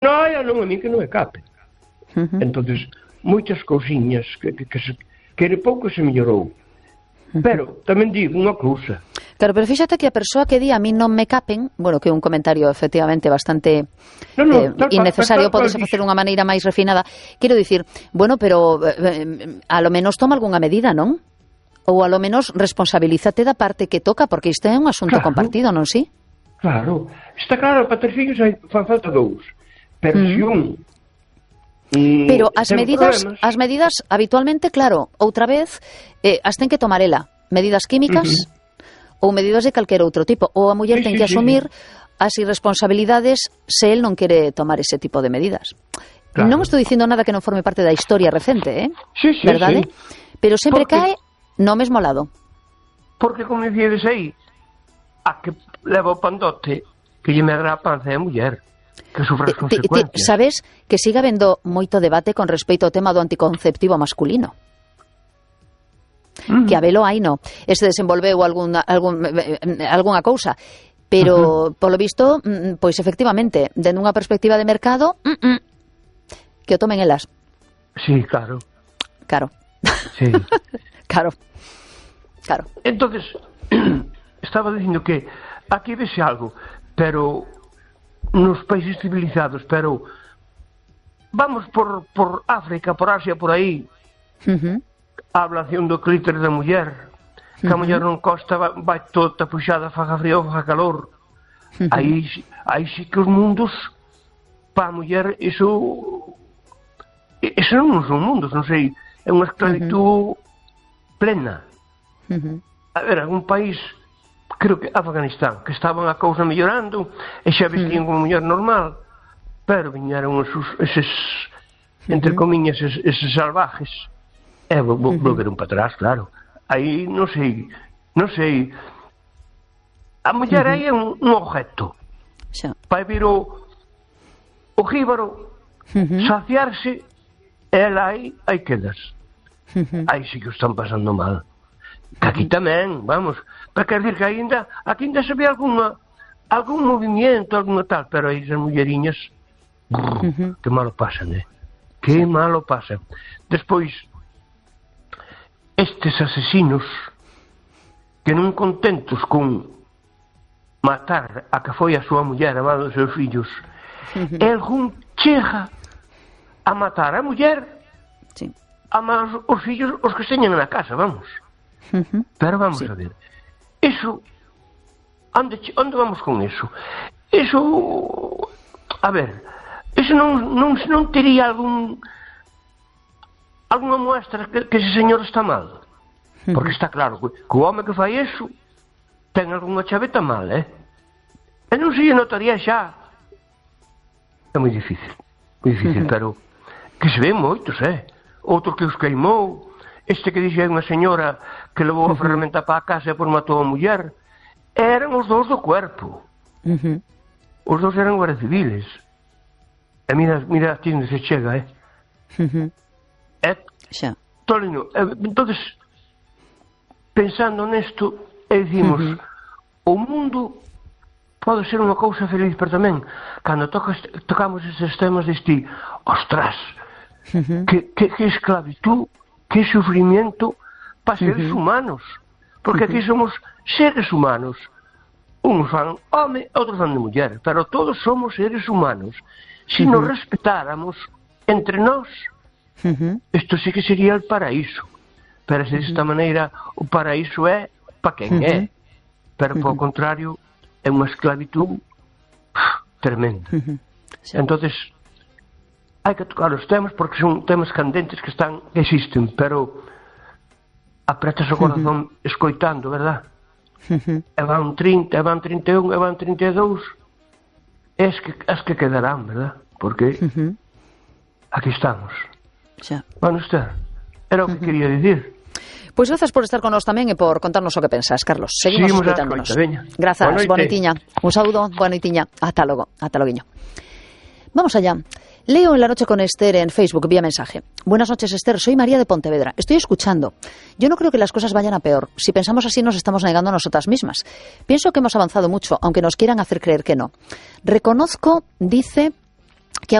non, a mí que non me cape. Entonces, moitas cousiñas que de pouco se mellorou. Pero tamén digo unha cousa. Claro, pero fíxate que a persoa que di a mí non me capen, bueno, que é un comentario efectivamente bastante innecesario, podese facer unha maneira máis refinada. Quero dicir, bueno, pero a lo menos toma algunha medida, non? Ou a lo menos responsabilízate da parte que toca, porque isto é un asunto compartido, non si? Claro, está claro, para ter fillos fan falta dous. Pero se un pero as medidas habitualmente, claro, outra vez as ten que tomar ela, medidas químicas ou medidas de calquer outro tipo, ou a muller ten que asumir as irresponsabilidades se el non quere tomar ese tipo de medidas. Non estou dicindo nada que non forme parte da historia recente, verdade? Pero sempre cae no mesmo lado. Porque, como dicíades aí, a que leva o pandote que lle medra a panza é a muller, que sufre as consecuencias. Sabes que sigue habendo moito debate con respecto ao tema do anticonceptivo masculino. Que a velo aí no. Este desenvolveu algunha cousa. Pero, polo visto, pois efectivamente, dende unha perspectiva de mercado, que o tomen elas. Sí, claro. Claro. Sí. Claro. Entonces, estaba dicindo que aquí vese algo, pero nos países civilizados, pero vamos por África, por Asia, por aí, a ablación do clítoris da muller, que a muller non costa, vai toda puxada, faga frío, faga calor. Aí sí que os mundos, para a muller, iso non son mundos, non sei, é unha esclavitud plena. A ver, algún país, creo que Afganistán, que estaban a cousa mellorando e xa vestían como muller normal, pero viñeron eses entre comiñas, eses salvajes, e volveron para atrás, claro. Aí non sei, a muller aí é un objeto. Vai vir o jíbaro saciarse, e ela aí quedas. Aí sí que o están pasando mal. Que aquí tamén, vamos, para quer dir que aquí ainda se ve algún movimiento, alguna tal, pero aí as mulleriñas, que malo pasan, que malo pasan. Despois, estes asesinos que non contentos con matar a que foi a súa muller, a mano dos seus fillos, algún chega a matar a muller, a mano os fillos, os que teñen na casa, vamos. Pero vamos a ver, eso, onde vamos con eso? Eso, a ver, eso non tería algunha muestra que ese señor está mal, porque está claro que o home que fai eso ten algunha chaveta mal, e non se notaría xa. É moi difícil, pero que se ven moitos, outro que os queimou. Este que dixe unha señora que levou a ferramenta para a casa e por matou a muller, eran os dous do cuerpo. Os dous eran guardias civiles. E mira aquí onde se chega, Tolino, entonces, pensando nesto, dicimos, o mundo pode ser unha cousa feliz, pero tamén, cando tocamos estes temas, diste, ostras, que esclavitud, que sufrimiento para seres humanos, porque aquí somos seres humanos, uns fan home, outros fan de muller, pero todos somos seres humanos. Se nos respetáramos entre nós, isto sí que sería el paraíso, pero de esta maneira o paraíso é para quen é, pero por contrario é unha esclavitud tremenda. Entonces hai que tocar os temas porque son temas candentes que existen, pero apretas o corazón escoitando, verdad? E van 30, e van 31, e van 32, as que quedarán, verdad? Porque aquí estamos. Bueno, usted, era o que quería dicir. Pois grazas por estar con nós tamén e por contarnos o que pensas, Carlos. Seguimos escoitándonos. Grazas, boa noitiña. Un saúdo, boa noitiña. Ata logo, ata loguiño. Vamos allá. Leo en La Noche con Esther en Facebook vía mensaje. Buenas noches, Esther. Soy María de Pontevedra. Estoy escuchando. Yo no creo que las cosas vayan a peor. Si pensamos así, nos estamos negando a nosotras mismas. Pienso que hemos avanzado mucho, aunque nos quieran hacer creer que no. Reconozco, dice,